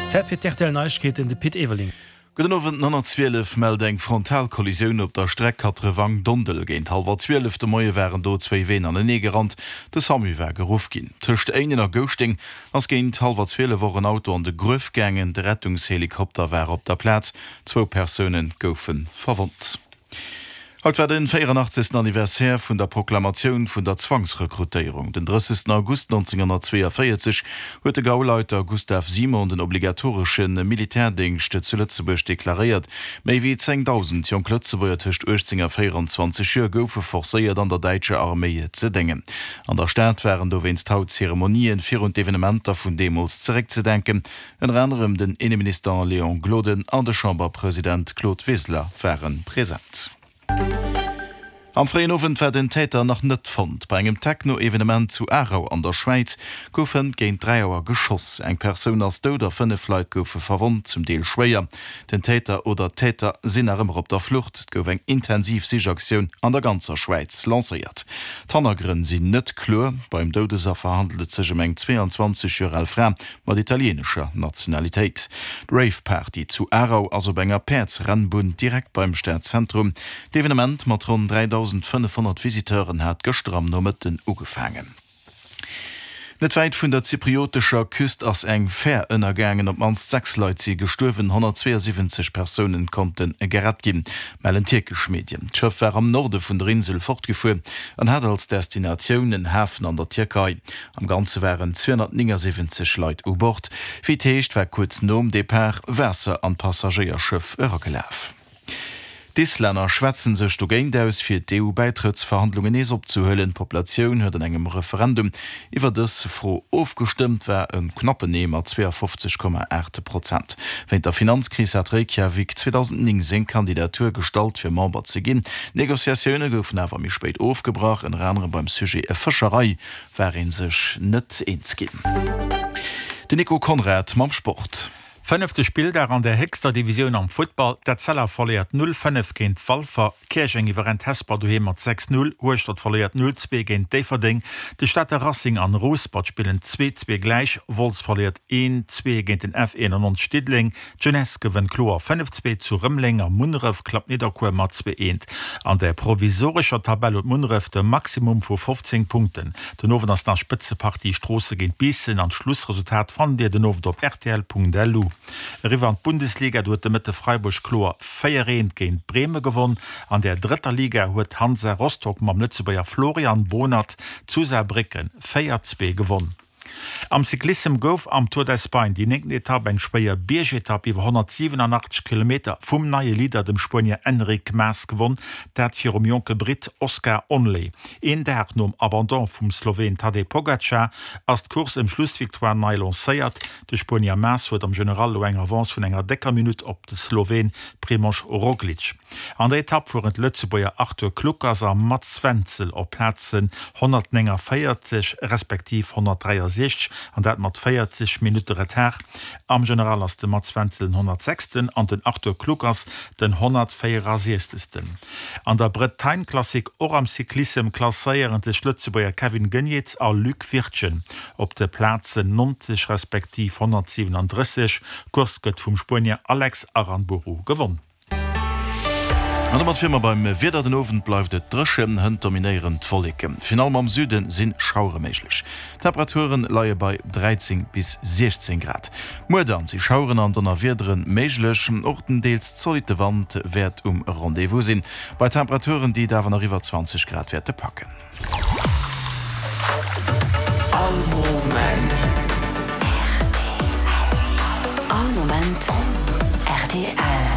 Zäit fir d'RTL Neiegkeeten, de Pit Everling. Gudden Owend, 912 mellt eng Frontalkollisioun op der Streck Katrewang-Dondel. Géint hallwer 12 de Moie waren do zwéi Ween anenee gerannt. De Samu war geruff ginn. Tëscht Éinen a Gouschteng ass géint hallwer 12 och en Auto an de Gruef gaangen. De Rettungshelikopter war op der Plaz. Zwou Persoune goufe verwonnt. Haut war de 84. Anniversaire vun der Proklamatioun vun der Zwangsrekrutéierung. Den 30. August 1942 huet de Gauleiter Gustav Simon den obligatoresche Militärdéngscht zu Lëtzebuerg deklaréiert. Méi wéi 10.000 jonk Lëtzebuerger tëscht 18 a 24 Joer goufe forcéiert an der däitscher Arméi ze déngen. An der Stad waren dowéinst haut Zeremonien, fir un d'Evenementer vun deemools zeréckzedenken. Ënner anerem den Inneminister Léon Gloden an de Chamberpresident Claude Wiseler ware present. Am fréien Owend war den Täter nach net fonnt. Bei engem Techno-Evenement zu Aarau an der Schwäiz gouf hënt géint 3 Auer geschoss. Eng Persoun ass dout a 5 Leit goufe verwonnt, zum Deel schwéier. Den Täter oder d'Täter sinn nach ëmmer op der Flucht. Et gouf eng intensiv Sichaktioun an der ganzer Schwäiz lancéiert. D'Hannergrënn sinn net kloer. Beim Doudesaffer handelt et sech ëm eng 22 Joer al Fra mat italienescher Nationalitéit. D'Rave-Party zu Aarau ass op enger Päerdsrennbunn direkt beim Stadzentrum. D'Evenement mat ronn 3.500 Visiteuren hat gëschter am Nomëtten ugefaangen. Net wäit vun der zypriotescher Küst ass eng Fär ënnergaangen. Op d'mannst 6 Leit si gestuerwen, 172 Persounen konnte gerett ginn, mellen tierkesch Medien. D'Schëff war am Norde vun der Insel fortgefuer an hat als Destinatioun en Hafen an der Tierkei. Am Ganze waren 279 Leit u Bord. Wéi et heescht, war kuerz nom Depart Waasser an d'Passagéierschëff eragelaf. D'Islänner schwätze sech dogéint aus, fir d'EU-Bäitrëttsverhandlungen nees opzehuelen. D'Populatioun huet an engem Referendum iwwer dës Fro ofgestëmmt, war e knappen Nee mat 52,8 Prozent. Wéint der Finanzkris hat Reykjavik 2009 seng Kandidatur gestallt, fir Member ze ginn. D'Negociatioune goufen awer méi spéit ofgebrach, ënner anerem beim Sujet Fëscherei war ee sech net eens ginn. Den Nico Conrad mam Sport. Fënnefte Spilldag an der héchster Divisioun am Futtball, D'Etzella verléiert 0, 5 géint Walfer, Käerjeng iwwerrennt Hesper doheem mat 6, 0, Hueschtert verléiert 0, 2 géint Déifferdeng, de Stater Racing an Rouspert spillen 2, 2 gläich, Wolz verléiert 1, 2 géint den F 91 Diddeleng, D'Jeunesse gewënnt kloer 5, 2 zu Rëmeleng a Munneref klappt Nidderkuer mat 2, 1. An der provisorescher Tabell huet Munneref de Maximum vu 15 Punkten. Den Owend ass nach Spëtzepartie Stroosse géint Biissen an d'Schlussresultat fannt Dir den Owend op rtl.lu. Eriwwer an d'Bundesliga, do huet de Mëtte Freiburg kloer 4, 1 géint Breme gewonn. An der drëtter Liga huet Hansa Rostock mam Lëtzebuerger Florian Bohnert zu Saarbrécken 4, 2 gewonn. Am Cyclissem gouf am Tour d'Espagne déi néngten Etapp, eng schwéier Biergetapp iwwer 187 Kilometer, vum neie Leader, dem Spuenier Enric Mas gewonn, dat virum jonke Britt Oscar Onley. Een Dag nom Abandon vum Sloween Tadej Pogacar ass d'Course ëm d'Schlussvictoire nei lancéiert. De Spuenier Mas huet am General elo eng Avance vun enger décker Minutt op de Sloween Primož Roglic. An der Etapp fueren d'Lëtzebuerger Arthur Kluckers a Mats Wenzel op Plazen 149 respektiv 163, an dat mat 40 Minutte Retard. Am General ass de Mats Wenzel den 106. An den Arthur Kluckers den 164. An der Bretagne Classic, och am Cyclissem, klasséieren sech d'Lëtzebuerger Kevin Geniets a Luc Wirtgen op de Plazen 90 respektiv 137. D'Course gëtt vum Spuenier Alex Aranburu gewonn. An domat wier mer beim Wieder. Den Owend bleift et dréchen, hënt dominéieren d'Wolleken. Virun allem am Süde si Schauere méiglech. D'Temperature leie bei 13 bis 16 Grad. Muer dann si Schaueren an Donnerwiedere méiglech, och den deels zolitte Wand wäert um Rendez-vous sinn, bei Temperaturen, déi et awer nach iwwer 20 Grad wäerte packen. All Moment.